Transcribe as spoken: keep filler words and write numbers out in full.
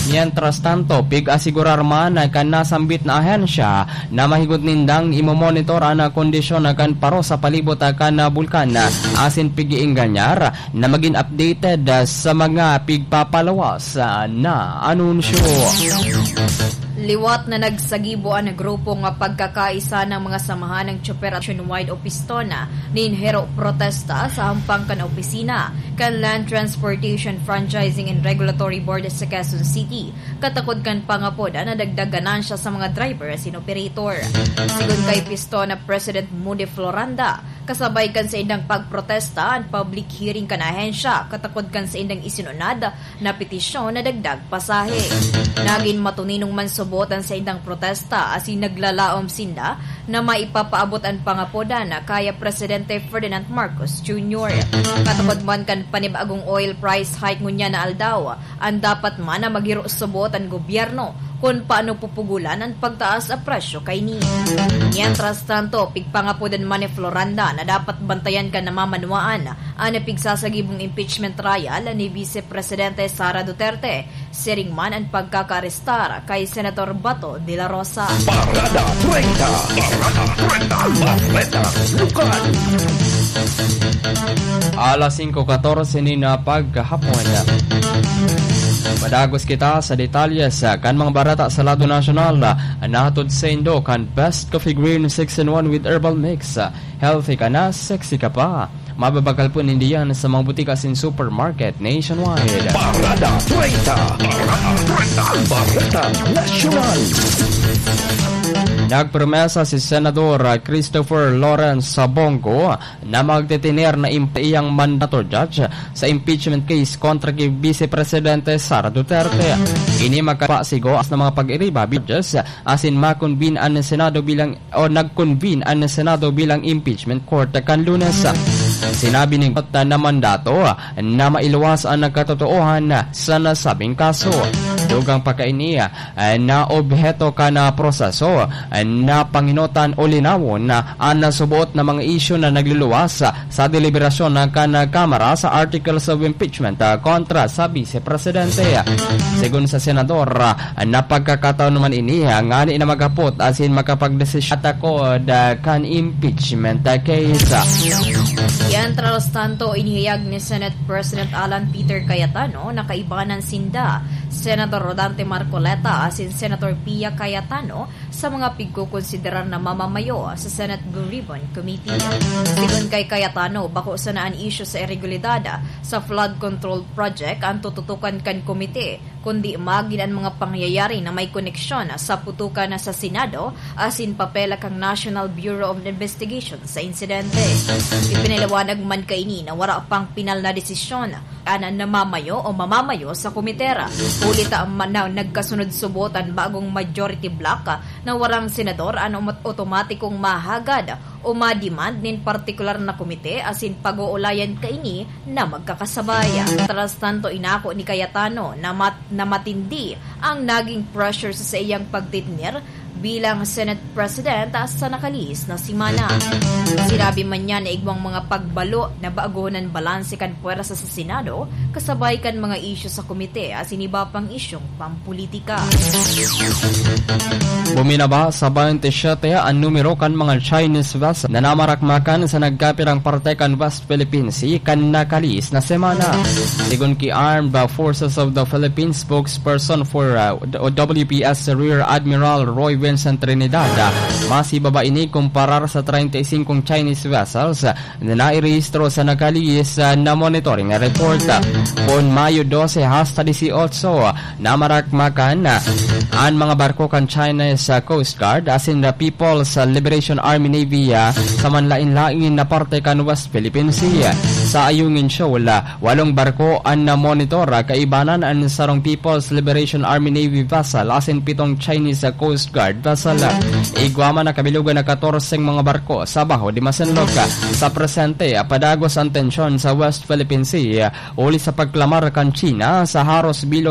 Mientras tanto, pig-asigurar man kan nasambit na ahensya na mahigot nindang imomonitor an kondisyon kan paro sa palibot kan bulkan asin pig-iingganyar na magin updated sa mga pigpapalawas na anunsyo. Liwat na nagsagibo an grupo nga Pagkakaisa ng mga Samahan ng Tsoper at Nationwide o Pistona nin hero protesta sa hampang kan opisina kan Land Transportation Franchising and Regulatory Board sa Quezon City, katakod kan pangapod na dagdag ganansya sa mga driver asin operator. Sigon kay Pistona President Moody Floranda, kasabay kan saindang pagprotesta an public hearing kan ahensya, katakod kan saindang isinunad na petisyon na dagdag pasahe. Nagin matuninong man subot an saindang protesta asin naglalaom sinda na maipapaabot an pangapodan kaya Presidente Ferdinand Marcos Junior. Katukod man kan panibagong oil price hike ngunyan na aldaw, an dapat man na maghiro subot an gobyerno kun paano pupugulan an pagtaas a presyo kaini. Mientras tanto, pigpangapod man ni Floranda na dapat bantayan kan namamanwaan an pigsasagibong impeachment trial ni Vice Presidente Sara Duterte, siring man an pagkakaarestar kay Senator Bato de la Rosa. Parada treinta, Parada treinta, Bareta, Lokal. Alas singko katorse nin paghapon. Madagos kita sa detalye sa kan mga bareta sa lado nasyonal. Nahatod saindo kan Best Coffee Green six in one with Herbal Mix. Healthy ka na, sexy ka pa. Mababakal po ninda yan sa mga butika asin supermarket nationwide. Parada treinta, Parada treinta, Bareta Nasyonal. Nagpromesa si Senador Christopher Lawrence Bongo na magtitiner na imp-, iyang mandato judge sa impeachment case kontra kay Vice Presidente Sara Duterte. Ini magkapasigo sa mga pag-iriba judges asin makonvene an Senado bilang o nag-convene an Senado bilang impeachment court kan Lunes. Sinabi nin court na mandato na mailuwas an katotoohan sa nasabing kaso. Dugang pa kaini, na obheto kan proseso na pangenotan o linawon an suboot na mga isyu na nagluluwas sa deliberasyon kan Kamara sa articles of impeachment kontra sa Vice Presidente. Sigon sa senador, na pagkakataon man ini ngani na maghapot asin makapagdesisyon takod kan impeachment case. Mientras tanto, inihayag ni Senate President Alan Peter Cayetano na kaibanan sinda, Senador Rodante Marcoleta asin Senator Pia Cayetano, sa mga pigkokonsiderar na mamamayo sa Senate Blue Ribbon Committee. Sigon kay Cayetano, bako sana an isyu sa iregulidad sa flood control project an tututukan kan komite, kundi magin an mga pangyayari na may koneksyon sa putukan sa Senado asin papel kan National Bureau of Investigation sa insidente. Ipinaliwanag man kaini na wara pang pinal na desisyon an namamayo o mamamayo sa komite, huli ta man na nagkasunod subot an bagong majority bloc na warang senador an omat-, otomatikong mahagad o ma-demand nin partikular na komite asin pag-oolayan kaini na magkakasabay. Mientras tanto, inako ni Cayetano na mat-, na matindi ang naging pressure sa saiyang pagtitnir bilang Senate President sa nakalihis na semana. Sinabi man niya na igwang mga pagbalo na baguhon an balanse kan pwersa sa Senado, kasabay kan mga isyu sa komite asin iba pang isyung pampulitika. Buminaba sa baynte siyete an numero kan mga Chinese vessel na namarakmakan sa nagkapirang parte kan West Philippine Sea kan nakalihis na semana. Sigon ki Armed Forces of the Philippines spokesperson for, uh, o W P S Rear Admiral Roy Vincent Trinidad, mas ibaba ini kumparar sa treinta y cinco Chinese vessels na nairehistro sa nakalihis, ah, na monitoring report. Poon Mayo dose hasta dieciocho, namarakmakan an mga barko kan China sa Coast Guard asin the People's Liberation Army Navy, ah, sa manlain-lain na parte kan West Philippine Sea. Sa Ayungin Shoal, ah, walong barko an namonitor, ah, kaibanan an sarong People's Liberation Army Navy vessel asin pitong Chinese Coast Guard vessel. Igwa man nakabilugan na katorseng mga barko sa Baho de Masinloc. Sa presente, padagos an tensyon sa West Philippine Sea, huli sa pagklamar kan China sa haros bilog